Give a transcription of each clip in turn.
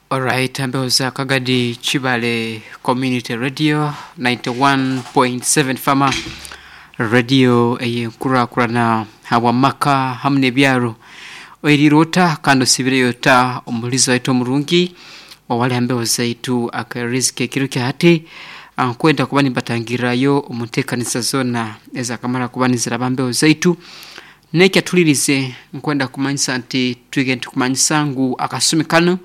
Alright, mbeho za Kagadi Kibale Community Radio 91.7 Fama Radio ey'enkurakurana habw'amaka hamu n'ebyaro. Oiriire ota kandi osiibireyo ota omuhuriza waitu omurungi owali ha mbeho zaitu akairirizi k'ekiro kya hati. Nkwenda kuba nimbatangirrayo omu nteekaniza zoona ezakamara kuba niziraba ha mbeho zaitu. N'ekyatuhulirize nkwenda kumanyisa nti twige nitukumanyisa ngu akasumi kanu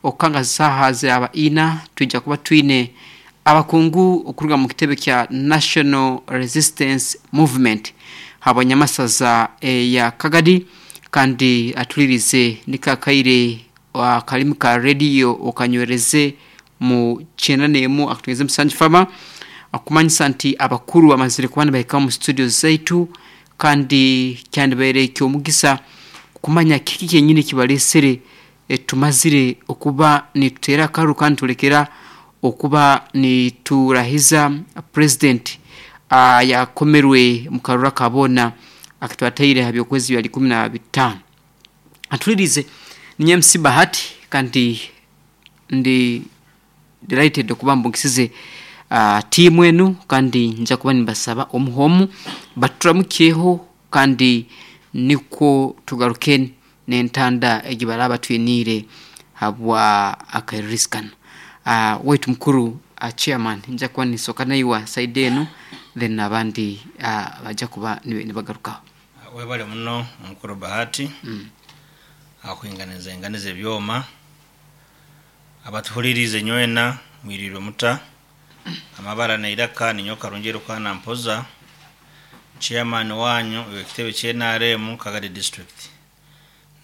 okukanga saaha ziraba ina twija kuba twine abakungu okuruga mu kitebe kya National Resistance Movement habwa nyamasaza eya Kagadi kandi atulirize niko akaire akalimi ka rediyo okanywereze mu kyenda n'emu akatweze musanju fama akumanyisa nti abakuru bamazire kuba nibahika omu studio zaitu kandi kyandibaire eky'omugisa kumanya kiki kyenyini ekibalesere tumazire okuba nituteera akaru kandi tulekera okuba niturahiza Purezidenti ayakomerwe omu karuru aka boona akatwataire aha by'okwezi bya 15. Atulirize, ninye MC Bahati kandi ndi delighted okuba mbugisize tiimu enu kandi nja kuba nimbasaba omu h'omu baturamukyeho kandi nikwo tugaruke n'entanda egi baraaba batwiniire habwa akairirizi kanu. Waitu mukuru chairman nja kuba ninsooka naiwe ha side enu then abandi baija kuba nibagarukaho. Webale muno omukuru Bahati ahakwinganiza ebyoma. Abatuhuririize nywena mwiriirwe muta? Amabara n'eiraka ninyowe Karungi Erukaana Mpoza, chairman waanyu ow'ekitebe kya NRM Kagadi District.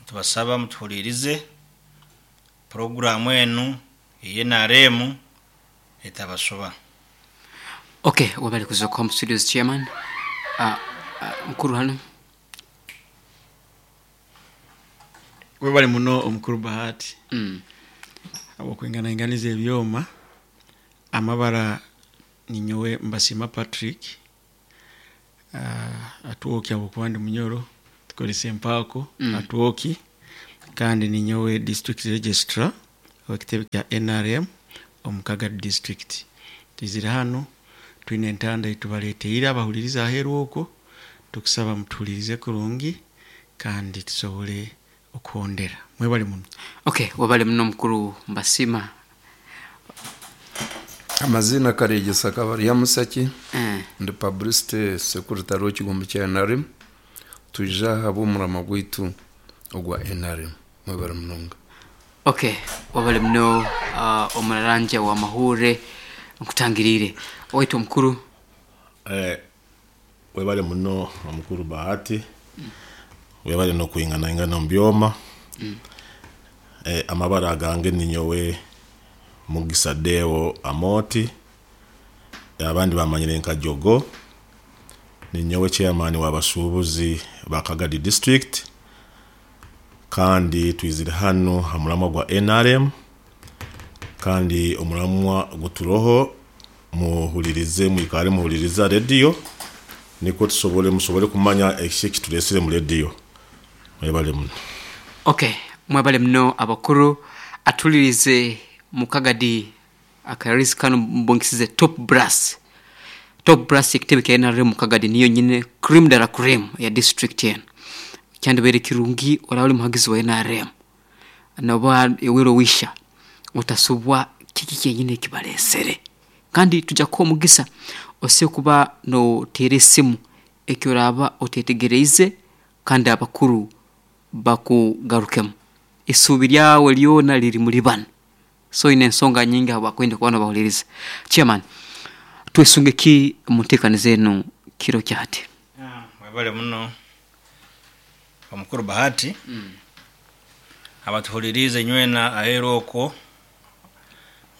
Nitubasaba mutuhuriirize puroguraamu enu eye NRM etabashoba. Ok, webale kuza home studios chairman. Mukuru hanu. Webale muno omukuru Bahati habw'okwinganainganiza ebyoma. Amabara ninyowe Mbasiima Patrick, Atwoki habw'okuba ndi Munyoro tukozesa empaako Atwoki kandi ninyowe district registrar ow'ekitebe kya NRM omu Kagadi district. Twizire hanu twine entanda ei tubaleeteire abahuliriza aheeru okwo, tukusaba mutuhulirize kurungi kandi tusobole okuhondera. Mwebale muno. Ok, webale muno mukuru Mbasiima. Amaziina Karegyesa Kabaryamusaki, ndi publicity secretary w'ekigombe kya NRM. Twija aha ahabw'omurama gwaitu ogwa NRM. Mwebale munonga. Ok, webale muno omurarangya wa mahuurire nkutangiriire. Owaitu omukuru. Webale muno omukuru Bahati, webale n'okwinganaingana omu byoma. Amabara agange ninyowe Mugisa Deo Amooti, abandi bamanyire nka Jogo. Ninyowe chairman w'abashuubuzi ba Kagadi district kandi twizire hanu ha muramwa gwa NRM kandi omuramwa oguturoho Muhuririze, mwikare muhuririze aha rediyo nikwo tusobole musobole kumanya eki ekituresire omu rediyo. Mwebale muno. Ok mwebale muno abakuru atulirize mukagadi akarisi kanu mbongisize top brass top brass ekitebe kya NRM mukagadi niyo nyine cream de la cream ya district enu kyandibaire kirungi oraba ori muhagizi wa NRM Noba iwe Rowisha otasubwa kiki kyenyini ekibalesere. Kandi twija kukuha omugisa osobole kuba noteera esimu eki oraaba otetegereize kandi abakuru bakugarukemu. Isuubi lyawe lyona liri muli banu. So oine ensonga nyingi habwakwenda kuba nobahuliriza. Chairman, twesunge ki omu nteekaniza enu kiro kya hati? Webale muno omukuru Bahati. Abatuhuririize nywena aheeru okwo,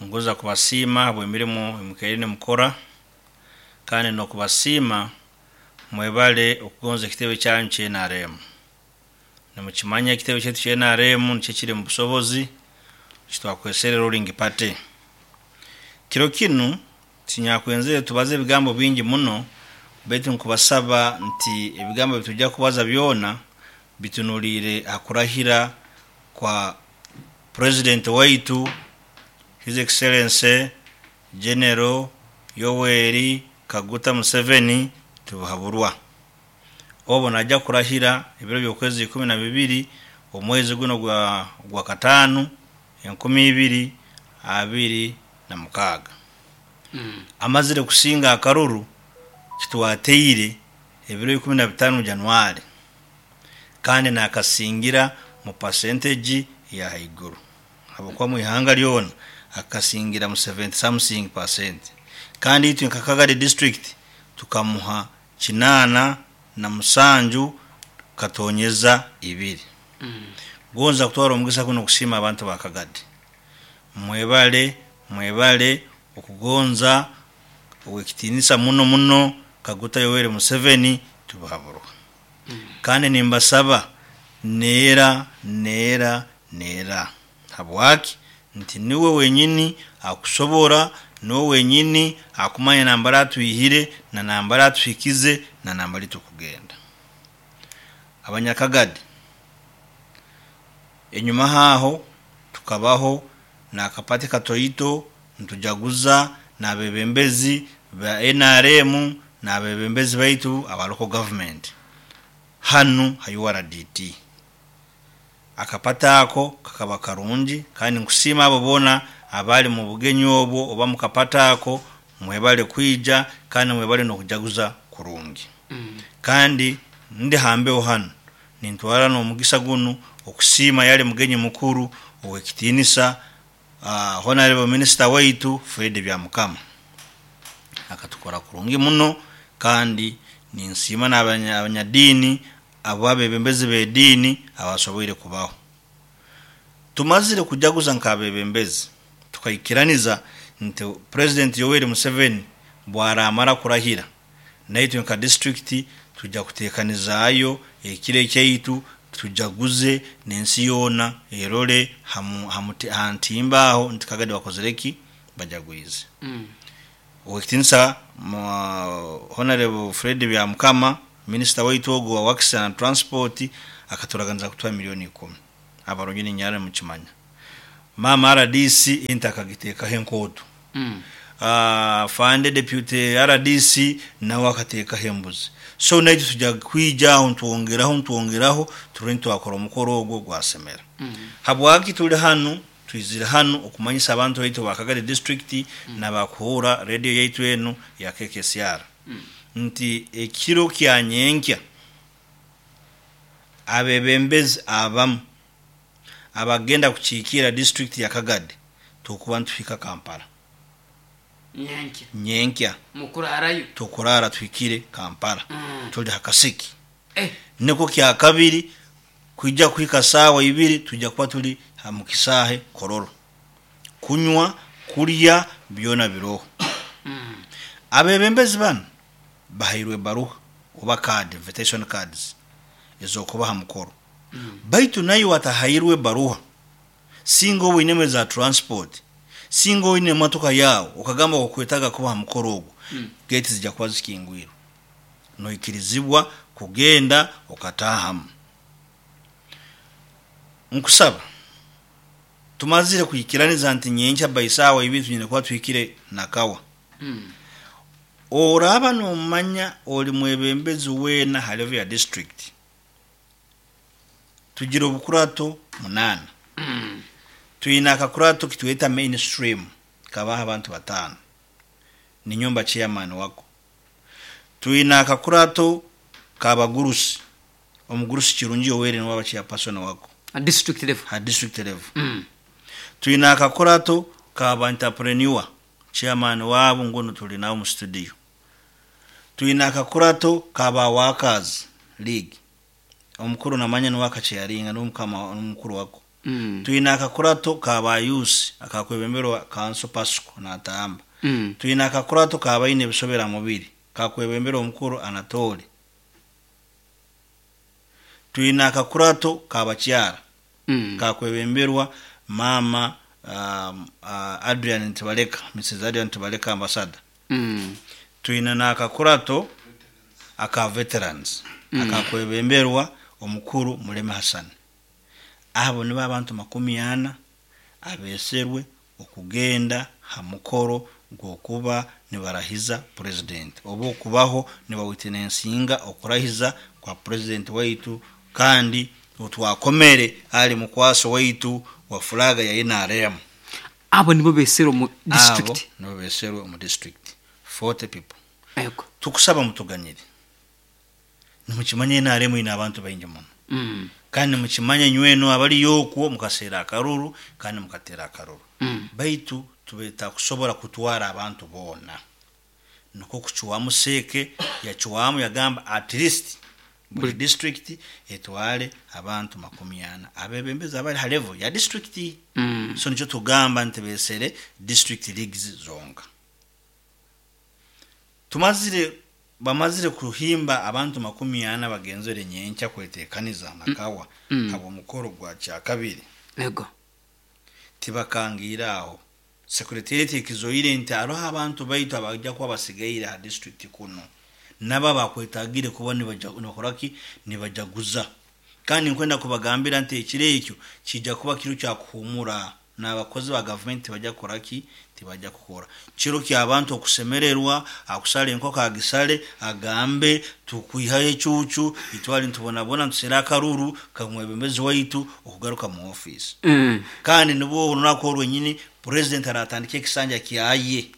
ningonza kubasiima ahabw'emirimo ei mukaire nimukora kandi n'okubasiima mwebale okugonza ekitebe kyanyu kya nrm. Nimukimanya ekitebe kyaitu kya nrm nikyo ekiri omu busobozi eki twakwesere ruling party. Kiro kinu tinyakwenzere tubaze ebigambo bingi muno baitu nkubasaba nti ebigambo ebi twija kubaza byona bitunuliire aha kurahira kwa Purezidenti waitu. His Excellency General Yoweri Kaguta Museveni Tibuhaburwa. Obu naija kurahira ebiro by'okwezi 12 omwezi guno gwa kataano 2026. Amazire kusinga akaruru kitwateire ebiro 15 Januari kandi nakasingira mu percentage ya haiguru habwokuba mu ihanga ryona akasingira mu 70 something percent, kandi itwe nka Kagadi district tukamuha 87 katonyeza 2. Gonza kutwara omugisa guno kusiima abantu ba Kagadi, mwebale mwebale okugonza ow'ekitiinisa muno muno Kaguta Yoweri Museveni Tibuhaburwa. Kandi nimbasaba neera neera neera, habwaki nti niwe wenyini akusobora, niwe wenyini akumanya nambara atwihire na nambara atuhikize na nambara tukugenda. Abanyakagadi enyuma haho tukabaho nakapati katoito ntujaguza n'abebembezi ba NRM n'abebembezi baitu aba local government hanu ha URDT. Akapata ako kakaba karungi, kandi nkusiima abo boona abali mu bugenyi obwo oba mukapata ako, mwebale kwija kandi mwebale n'okujaguza kurungi. Kandi ndi hambeho hanu nintwara n'omugisa gunu okusiima yali mugenyi mukuru ow'ekitiinisa Honorable Minister waitu Fred Byamukama, akatukora kurungi muno. Kandi ninsiima n'abanyadiini abo abebembezi b'ediini abasoboire kubaho. Tumazire kujaguza nk'abebembezi tukaikiraniza nti President Yoweri Museveni bwaramara kurahira, naitwe nka district tujja kuteekanizaayo ekiro ekyaitu tujaguze n'ensi yoona erole ha ntimba aho nti Kagadi bakozire ki, bajagwize. Ow'ekitiinisa Honorable Fred Byamukama, Minisita waitu ogu wa Works and Transport, akaturaganiza kutuha milioni 10. Abarungi ninyara nimukimanya. Mama RDC ente akagiteekaho enkooto. Fande Deputy RDC nawe akateekaho embuzi. So naitwe tujja kwija aho ntwongeraho ntwongeraho turore nitwakora omukoro ogwo gwasemera. Habwaki tuli hanu? Twizire hanu okumanyisa abantu baitu ba Kagadi district n'abakuhurra radio yaitu enu ya KKCR nti ekiro kya nyenkya abebembezi abamu abagenda kukiikirra district ya Kagadi tukuba nituhika Kampala. Nyenkya. Nyenkya. Mukurarayo. Tukurara tuhikire Kampala. Tuli ha kasiki. Niko kya kabiri kwija kuhika saawa 2 tujja kuba tuli mu kisaahe Kololo. Kunywa, kulya byona biroho. Abebembezi banu bahairwe baruha oba card, invitation cards ezokubaha mukoro. Baitu nayo watahairwe baruha, singa oine za transport, singa oine emotoka yawe okagamba okwetaga kubaha mukoro ogwo, gate zijja kuba zikingwirwe, noikirizibwa kugenda okatahamu. Nkusaba tumazire kuikiraniza nti nyenkya baisaawa 2 tunyine kuba tuhikire Nakawa. Oraba nomanya oli mwebembezi weena ha level ya district, tugira obukurato 8. Twine akakurato kitweta mainstream kabaha abantu 5, ni nyumba chairman wako. Twine akakurato kabagurusi, omugurusi Kirungi Yoweri niwe aba chairperson wako district level. Ha district level. Twine akakurato kaba entrepreneur, chairman wabo ngono tuli nawo mu studio. Twine akakurato kaba workers league, omukuru namanya niwe akacharinga n'omukama n'omukuru wako. Twine akakurato kaba youth akakwebemberwa Council Pasco natamba. Twine akakurato kabaine ebisobera mubiri kakwebembera omukuru Anatoli. Twine akakurato kabakyara kakwebemberwa mama Adrian Ntibaleka, Mrs Adrian Ntibaleka ambassador. Twine n'akakurato aka veterans akakwebemberwa omukuru Muleme Hassan. Abo nibo abantu 40 abeserwe okugenda ha mukoro gw'okuba nibarahiza president oba okubaho nibawitnensinga okurahiza kwa president waitu, kandi otwakomere ali mukwaso waitu wa fulaga ya NRM. Abo nibo besere omu district. Abo nibo beserwe omu district, 40 people. Ego. Tukusaba mutuganyire, nimukimanya NRM ine abantu baingi muno. Kandi nimukimanya nyweno abaliyo okwo mukaseera akaruru kandi mukatera akaruru. Baitu tubetakusobora kutwara abantu boona, nikwo kucwamu seeke yacwamu yagamba at least buli district etwale abantu 40 abebembezi abali ha level ya district. So nikyo tugamba nti besere district leagues zonka. Bamazire kuhimba abantu 40 bagenzere nyenkya kwetekaniza nakawa habwo mukoro gwa kyakabiri. Ego. Tibakangira aho. Secretariat ekizoire nti hariho abantu baitu abajja kuba basigaire ha district kuno, nabo bakwetagire kuba nibakoraki, nibajaguza. Kandi nkwenda kubagambira nti ekiro ekyo kijja kuba kiro kya kuhumura, n'abakozi ba gavumenti tibajja kukoraki, tibajja kukora. Kiro ky'abantu okusemererwa, akusala enkoko agisale, agambe tukwihayo ecucu, itwale ntubonabona ntusere akaruru kamwebembezi waitu okugaruka mu office. Kandi nibwo olunaku orwenyini president aratandika ekisanja kyaye.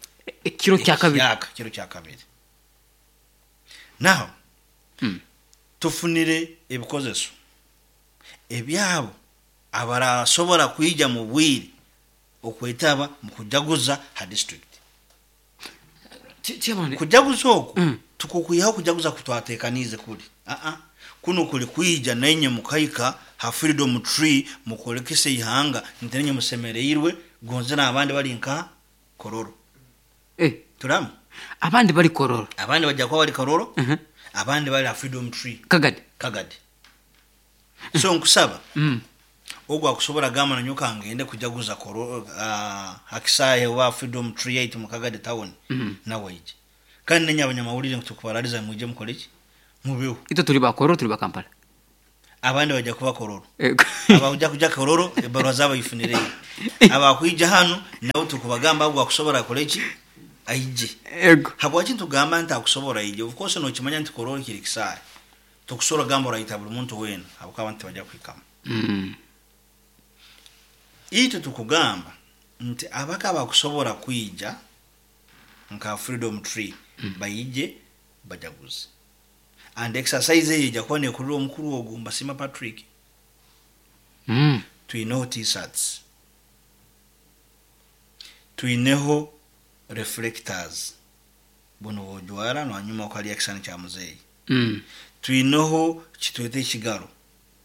Ekiro kya kabiri. Ekiyaka, kiro kya kabiri. Naho tufunire ebikozeso ebyabo abarasobora kwija mu bwire okwetaba mu kujaguza ha district. Chairman, Kujaguza oku tukukwihaho kujaguza kutwatekanize kuli. Kuno kuli kwija nenye mukaika ha Freedom Tree mukolekese ihanga nti nenye musemereirwe gonze n'abandi bali nka Kororo. Turamu. Abandi bali Kororo. Abandi bajja kuba bali Kororo. Abandi bali ha Freedom Tree. Kagadi. Kagadi. So nkusaba. Ogwo akusobora gamba na nyoka ngende kujaguza Kororo, hakisahe wa Freedom Tree yaitu mu Kagadi town. Nawe ije. Kandi nenye abanyamawulire tukubaraliza muje mukole iki? Mubeho. Ito tuli ba Kororo, tuli ba Kampala. Abandi bajja kuba Kororo. Abajja kuja Kororo ebarwa zabo ifunire. Abakwija hano nawe tukubagamba agwo akusobora kole iki? Aije. Habwaki tugamba nti akusobora ije? Of course no kimanya nti Kororo kiri kisahe. Tukusora gamba oraita buli muntu wena habwa abantu bajja kwikama. Ito tukugamba nti abaka bakusobora kwija nka Freedom Tree bayije bajaguze. And exercise eyo ejja kuba nekurira omukuru ogwo Mbasima Patrick. Tuineho t-shirts. Tuineho reflectors. Buno bwojwara nanyuma okali ekisani kya muzeeyi. Tuineho kitwete ekigaro.